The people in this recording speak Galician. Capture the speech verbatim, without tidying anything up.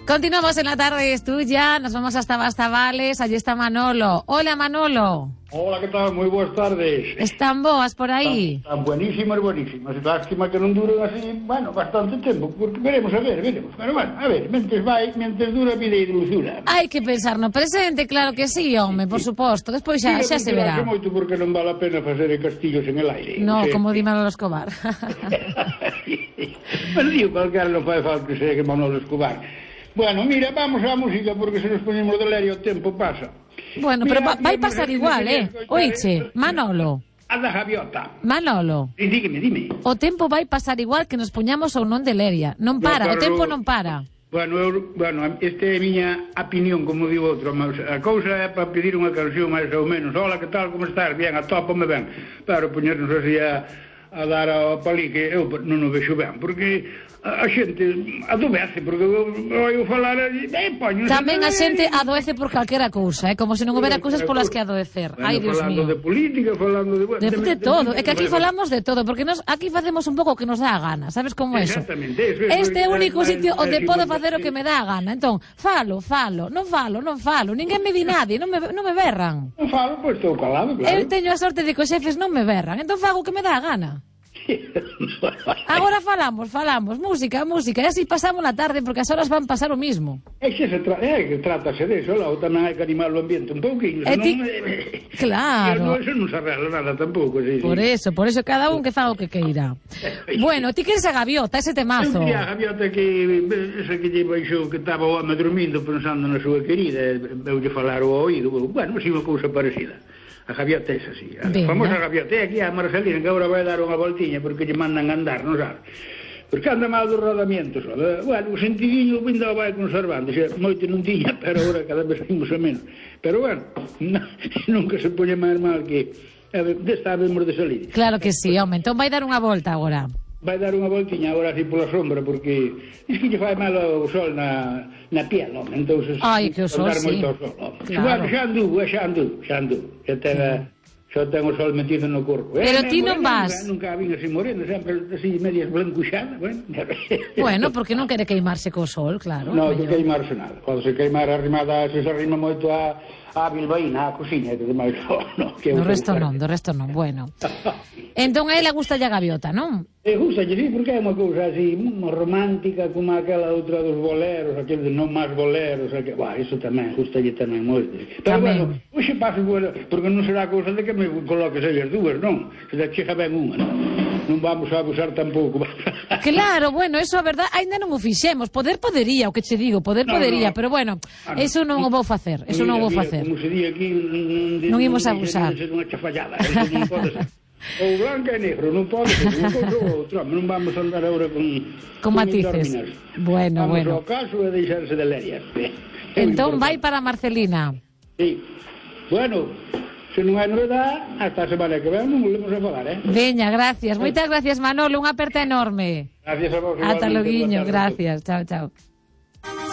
Continuamos en la tarde, es tuya, nos vamos hasta Bastavales, allí está Manolo. Hola Manolo. Hola, ¿qué tal? Muy buenas tardes. ¿Están boas por aí? Están, están buenísimas, buenísimas. Lástima que non duren así, bueno, bastante tempo, porque veremos, a ver, veremos. Pero bueno, a ver, mentes vai, mentes dura, vida e dulzura. Hai que pensar no presente, claro que sí, home, por suposto. Despois xa, xa se verá. Moito porque non vale a pena facer castillos en el aire. No, o sea, como di Manolo Escobar. Pero digo, calquera non fai falta que sea que Manolo Escobar. Bueno, mira, vamos á música, porque se nos ponemos de leria o tempo pasa. Bueno, mira, pero va, vai mira, pasar mira, igual, mira, eh? Oiche, Manolo. A da gaviota. Manolo. E dígame, dime. O tempo vai pasar igual que nos poñamos ou non de leria. Non para, no, o tempo non para. Bueno, eu, bueno, esta é a miña opinión, como digo outro. A cousa é para pedir unha canción máis ou menos. Hola, que tal, como estás? Bien, atópame ben. Pero poñernos así a, a dar ao palique, eu non o vexo ben, porque a, a xente adobece, porque eu falar e poño... Tamén a xente adoece por calquera cousa, eh? Como se non houbera cousas polas que adoecer. Bueno, ai, Dios mío. Falando de política, falando de... De, de, de todo, é que aquí falamos de todo, porque nos aquí facemos un pouco o que nos dá a gana, sabes como eso? Exactamente, eso. Este é o único sitio onde podo facer o que me dá a gana, entón, falo, falo, non falo, non falo, ninguén me di nadie, non me, non me berran. Non falo, pois estou calado, claro. Eu teño a sorte de que os xefes non me berran, entón fago o que me dá a gana. Agora falamos, falamos, música, música, e así pasamos a tarde, porque as horas van pasar o mismo. É que se tra é que trátase de eso, lá, tamén hai que animar o ambiente un pouquinho, senón... Ti... Claro. Eso non se arregla nada tampouco, sí, Por sí. eso, por eso cada un que faga o que queira. Bueno, ti queres a gaviota, ese temazo. Eu quería a gaviota que, esa que lle baixou, que estaba o home dormindo pensando na súa querida, eu lle falar o oído, bueno, si unha cousa parecida. A gaviota é así, a Venga. famosa gaviota. É aquí a Marcelina, que agora vai dar unha voltiña porque lle mandan andar, non sabe? Porque anda mal dos rodamientos. Bueno, o sentidiño ainda vai conservando, xa, moito non tiña, pero agora cada vez imos a menos. Pero bueno, nunca se pone máis mal que desta vemos de salir. Claro que sí, home, entón vai dar unha volta agora. Vai dar unha voltiña agora así pola sombra, porque es que lle fai mal o sol na, na piel, non? Entón, ai, que o sol, sí. Moito sol, no? Claro. Bueno, xa andu, xa andu, xa andu. Xa ten, xa ten o sol metido no corpo. Pero eh, ti non vas. Nunca, nunca vin así moreno, sempre así medias blancuxadas, bueno. Bueno, porque non quere queimarse co sol, claro. Non, que queimarse nada. Cando se queimar arrimada, se se arrima moito a... a bilbaína, a cociña, que demais no, que do resto non, do resto non, bueno. Entón a ela gusta a gaviota, non? E gusta, sí, porque é unha cousa así, unha romántica, como aquela outra dos boleros, aquel de non máis boleros, aquel, bah, iso tamén, gustalle tamén moito. Pero tamén. Bueno, hoxe paso, bueno, porque non será cousa de que me coloques aí as dúas, non? Se da chega ben unha, non? Non vamos a abusar tampouco. Claro, bueno, eso a verdade, ainda non o fixemos, poder podería, o que che digo, poder no, podería, no. pero bueno, ah, no. eso non o vou facer, eso mira, non o vou mira, facer. Como se di aquí, non imos a abusar. Non unha chafallada, non pode ser. Ou blanca e negro, non pode ser, un cousa ou outro, non vamos a andar agora con... Con matices. Bueno, vamos bueno. Vamos ao caso e deixarse de lerias. Entón vai para Marcelina. Sí. Bueno, se non hai novedade, hasta a semana que ven non volvemos a falar, eh? Veña, gracias. Moitas gracias, Manolo, unha aperta enorme. Gracias a vos. Ata loguiño, gracias. Chao, chao.